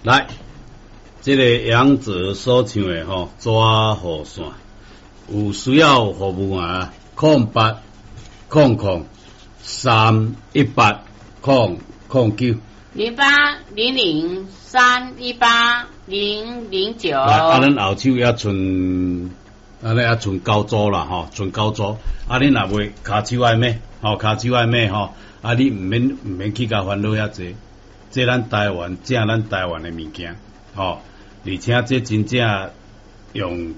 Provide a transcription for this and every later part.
來，這个楊哲所唱的吼，抓雨傘，有需要服務啊，08000318-009。0800318009。來，啊，咱後手猶賰，按呢猶賰九組啦，吼，賰九組。啊，你若袂跤手愛買，吼，跤手愛買吼，啊，你毋免去共煩惱遐濟，這咱台灣正咱台灣的物件，吼，而且這真正用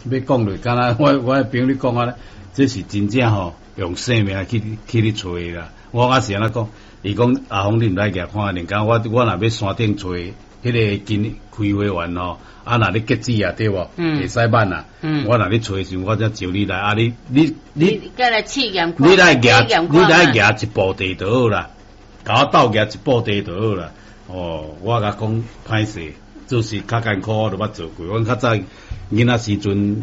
欲講就敢若我的朋友咧講啊，這是真正吼用性命去咧揣啦。我啊是按怎講？伊講阿峰，你毋來舉看，連講我若欲山頂揣彼个金開花園吼，啊若咧結籽啊，對無？會使挽啊。我若咧揣的時陣，我才招你來啊！你你來試驗你來舉，你來舉一步地就好啦，共我鬥舉一步地就好啦。哦，我共講歹勢，做事較艱苦，我都捌做過。阮較早囡仔時陣，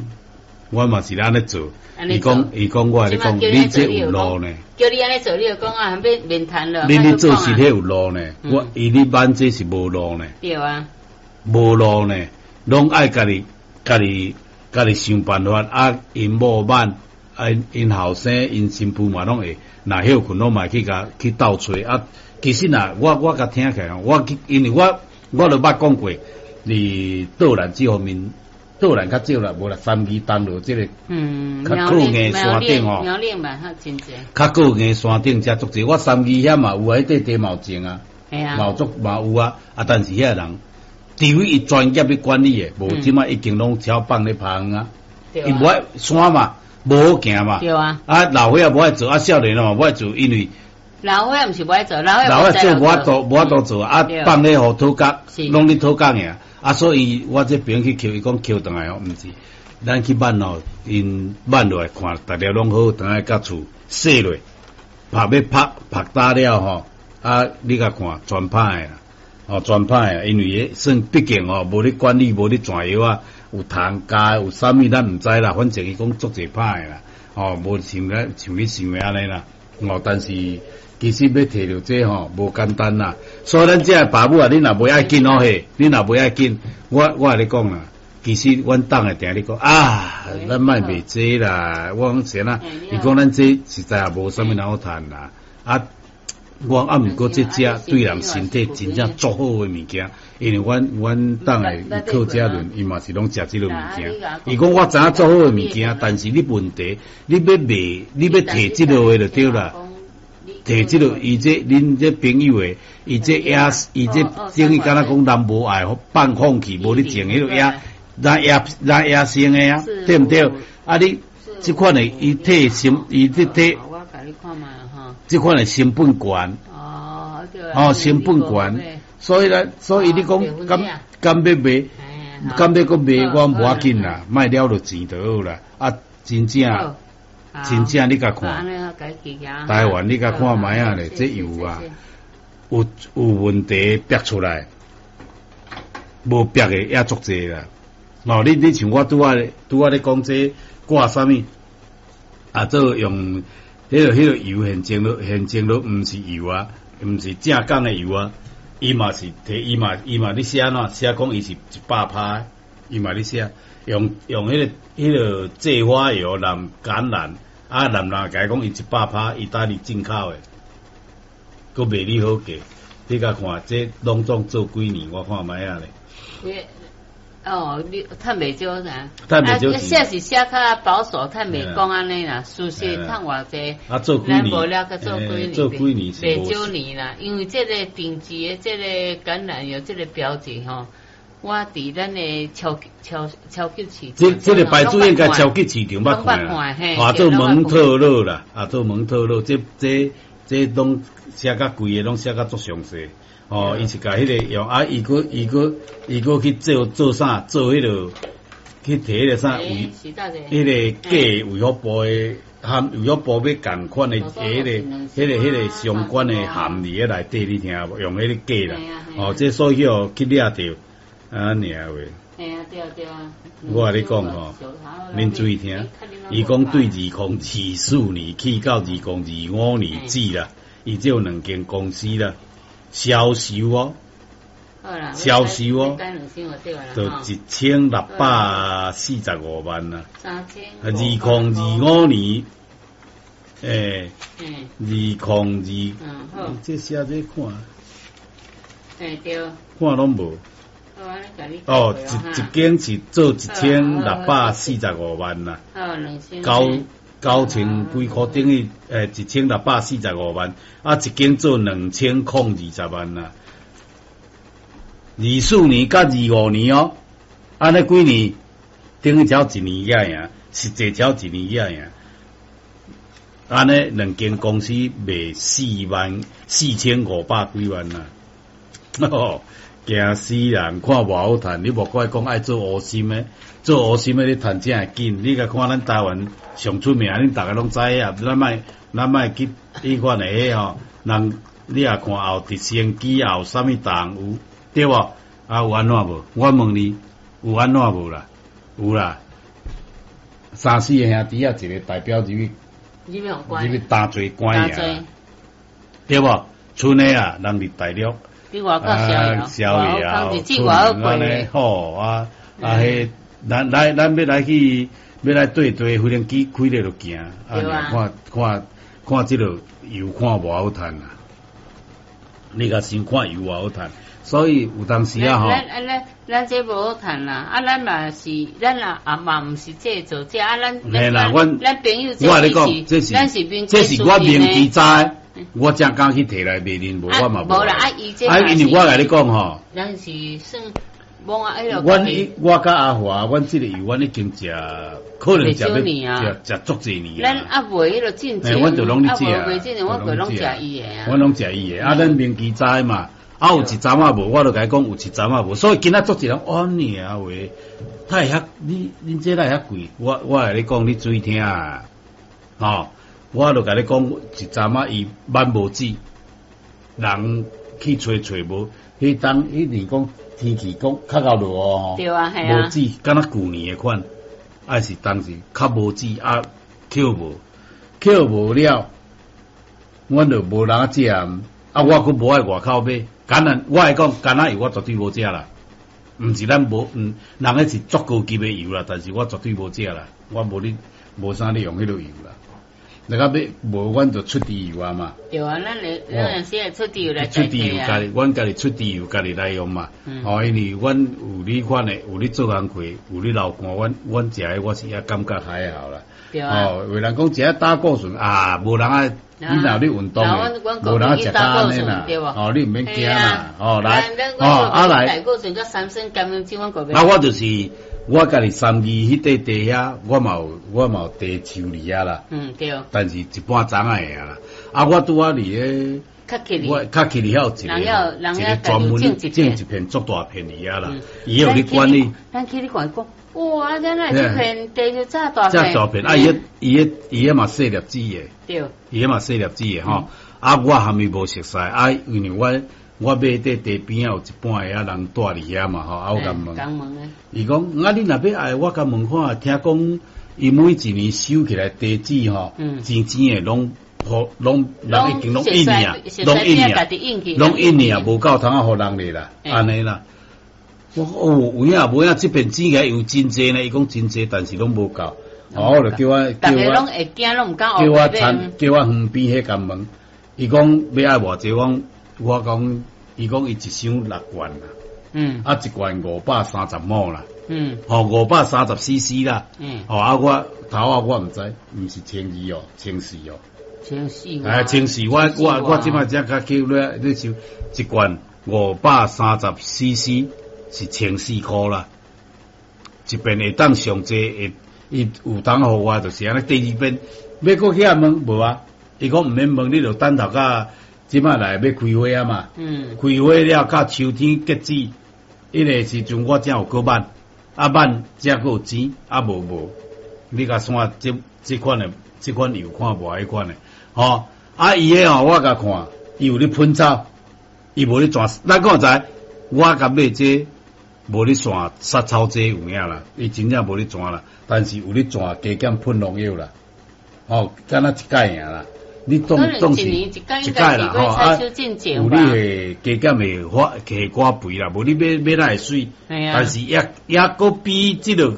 我嘛是按呢做。伊講我共你講，你這有路呢？叫你按呢做，你就講啊，欲免談了。你咧做是彼有路呢？我伊咧挽這是無路呢？對啊。無路呢，攏愛家己、家己、家己想辦法啊！𪜶某挽，啊，𪜶後生、𪜶新婦嘛攏會，若歇睏攏嘛會去共去鬥揣啊。其實啊，我共聽起來，我去，因為我都捌講過，佇桌蘭這方面，桌蘭較少啦，無啦，三義東路這个，較靠硬山頂吼，苗栗嘛較真濟，較靠硬山頂才足濟。我三義遐嘛有啊，彼塊地嘛有種啊，嘛有足嘛有啊，啊，但是遐人，除非伊專業咧管理的，無這擺已經攏超放咧拍啊，伊無愛山嘛，無好行嘛，對啊，啊老歲仔無愛做，啊少年嘛無愛做，因為老歲仔毋是無愛做，老歲老歲做無法度，無法度做，啊放咧予土角，攏咧土角爾。啊，所以我這朋友去抾，伊講抾轉來吼，毋是，咱去挽吼，𪜶挽落來看，逐粒攏好，轉來到厝洗落，拍欲拍拍焦了吼，啊，你共看全歹啦，哦，全歹啊，因為彼算畢竟吼，無咧管理，無咧轉藥啊，有蟲咬，有啥物咱毋知啦，反正伊講足濟歹啦，哦，無像咱像你想的按呢啦，哦，但是其實欲提著這吼無簡單啦，所以咱這个爸母啊，你若袂愛緊哦嘿，你若袂愛緊，我共你講啦，其實阮黨會定咧講啊，咱莫賣這啦，我講是按怎，伊講咱這實在也無啥物人好趁啦，啊，我講啊，毋過這隻對人身體真正足好的物件，因為阮黨的靠這輪，伊嘛是攏食這个物件。伊講我知影足好的物件，但是你問題，你欲賣，你欲提這个的就對啦。提這个，伊這恁這朋友的，伊這野，伊這等於敢若講人無愛放棄，無咧種彼个野，咱野咱野生的啊，對毋對？啊，你這款的，伊提成，伊這提，這款的成本懸，哦，成本懸，所以咧，所以你講敢敢欲賣，敢欲閣賣，我無要緊啦，莫了著錢就好啦，啊，真正。真正你共看，台灣你共看覓仔咧，這油啊，有問題逼出來，無逼的也足濟啦。哦，你像我拄仔咧講這掛啥物，啊，做用彼个油現前都毋是油啊，毋是正港的油啊，伊嘛是提伊嘛咧寫按怎寫講伊是100%，伊嘛咧寫用彼个芥花油淋橄欖。啊，男人共伊講伊100%意大利進口的，閣賣你好價，你共看這攏總做幾年，我看覓仔咧。哦，你趁袂少啥？趁袂少。寫是寫較保守，趁袂講按呢啦。事實趁偌濟，啊，做幾年？無了閣做幾年？做幾年袂少年啦，因為這个定制的這个橄欖油這个標誌吼。我佇咱的超級市場，這個牌子應該超級市場捌看啦，啊做蒙特勒啦，啊做蒙特勒，這攏寫較貴的，攏寫較足詳細。哦，伊是共彼个用啊，伊閣去做做啥？做彼个去提彼个啥衛，彼个假衛福部的含衛福部欲仝款的彼个相關的含佇咧內底，你聽無？用彼个假啦，哦，這所以去掠著。啊，爾話。嘿啊，對啊，對啊。我共你講吼，恁注意聽。伊講對2024年起到2025年止啦，伊這有兩間公司啦，銷售哦，銷售哦，就1645萬啦。2025年，欸，202，這寫這看，對，看攏無。哦，一間是做1645萬啦，九千幾箍等於1645萬，啊，一間做2020萬啦。24年佮25年哦，按呢幾年等於才一年爾爾，實際才一年爾爾。按呢兩間公司賣44500幾萬啦，哦，驚死人！看偌好趁，你莫怪講愛做烏心的，做烏心的你趁才會緊。你共看咱台灣上出名，恁逐个攏知影，咱莫去彼款的彼吼，人你若看後直升機後啥物動有，對無？啊有按怎無？我問你，有按怎無啦？有啦。三四个兄弟仔，一個代表入去，入去擔濟官爾，對無？賰的啊，人佇大陸。啊，逍遙，出按呢好啊啊！彼咱來咱欲來去，欲來綴綴飛行機開咧就行，啊，看看看這个油看偌好趁啊！你共想看油偌好趁，所以有當時啊吼。咱這無好趁啦，啊，咱嘛是，咱也啊嘛毋是這做這啊，咱咱朋友我共你講，這是這是我明知知。我才敢去提來賣恁，無我嘛無。無啦，啊伊這啊，因為我共你講吼，咱是算罔啊，彼落。阮我佮阿華，阮這个油，阮已經食，可能食欲食食足濟年。咱啊袂彼落進前，阮就攏咧食。袂進前，我過攏食伊的啊。阮攏食伊的，啊，咱明記知嘛，啊有一陣仔無，我就共伊講有一陣仔無，所以今仔足濟人按呢啊話，他會遐你恁這哪會遐貴？我共你講，你注意聽啊，吼。我就共你講，一陣仔伊挽無水，人去揣揣無，彼當彼年講天氣講較𠢕落雨吼，對啊，係啊，無水，敢若舊年的款，還是當時較無水啊，抾無，抾無了，阮就無人食，啊，我閣無愛外口買，敢若我會講，橄欖油我絕對無食啦，毋是咱無，毋，人彼是足高級的油啦，但是我絕對無食啦，我無咧，無啥咧用彼个油啦。那個欲無，阮就出豬油啊嘛。對啊，咱會咱會時會出豬油來出豬油，家己，阮家己出豬油，家己來用嘛。哦，因為阮有呢款的，有咧做工課，有咧流汗，阮食的我是也感覺還好啦。對啊。哦，有人講食膽固醇啊，無人愛，你若有咧運動的，無人愛食膽呢啦。哦，你毋免驚啦。哦，來，哦，啊來。膽固醇佮三酸甘油酯，阮啊，我就是我家己三義彼塊地遐，我嘛有地樹佇遐啦。嗯，對。但是一般欉仔會啊啦。啊，我拄仔佇咧，我較起哩遐有一個一個專門種一片足大片佇遐啦。伊有咧管理。咱去咧看講，哇！咱來這片地就遮大片。遮大片，啊！伊彼嘛細粒子的。對。伊彼嘛細粒子的吼。啊，我含伊無熟似，啊，因為我買佇地邊仔有一半的遐人住佇遐嘛吼，啊，我共問，伊講啊，你若欲愛，我共問看，聽講伊每一年收起來地子吼，錢錢的攏，予攏人已經攏印爾，攏印爾，攏印爾，無夠通啊，予人咧啦，按呢啦。我哦，有影無影？這片錢起來有真濟呢，伊講真濟，但是攏無夠。哦，我就叫我叫我叫我田叫我園邊彼共問，伊講欲愛偌濟，我我講。伊講伊一箱六罐啦，啊一罐530畝啦，吼530 CC 啦，吼啊我頭仔我毋知，毋是1200哦，1400哦，1400，哎1400，我這擺才較叫你你想一罐530 CC 是1400箍啦，一遍會當上濟會伊有當予我就是按呢，第二遍欲閣去遐問無啊？伊講毋免問，你就等頭到。這擺來欲開花啊嘛，開花了到秋天結籽，彼个時陣我才有閣挽，啊挽才閣有錢，啊無無，你共算這款的，這款油看無彼款的，吼，啊伊个吼我共看，伊有咧噴草，伊無咧剪，咱講知，我共買這無咧散殺草劑有影啦，伊真正無咧剪啦，但是有咧剪加減噴農藥啦，吼，敢若一擺爾啦。你當當是一擺啦吼啊，有你的加減的發下寡肥啦，無你欲欲哪會媠？但是抑抑閣比這個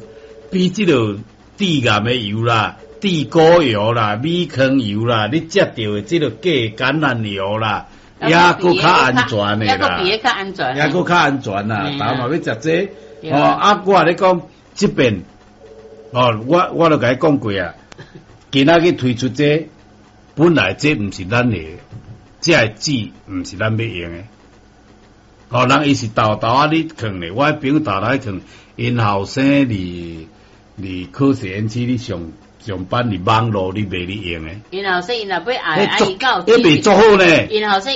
致癌的油啦、地溝油啦、米糠油啦，你食著的這個假橄欖油啦，抑閣較安全的啦，抑閣比較安全，抑閣較安全啦，逐嘛欲食這，哦啊，我共你講，這邊，哦，我都共你講過啊，今仔日推出這，本來這毋是咱的，這个籽毋是咱欲用的。哦，人伊是沓沓仔咧囥咧，我朋友沓沓咧囥，𪜶後生佇科學園區咧上上班佇網路咧賣咧用的。𪜶後生𪜶若欲愛，啊伊夠，彼袂足好呢。𪜶後生。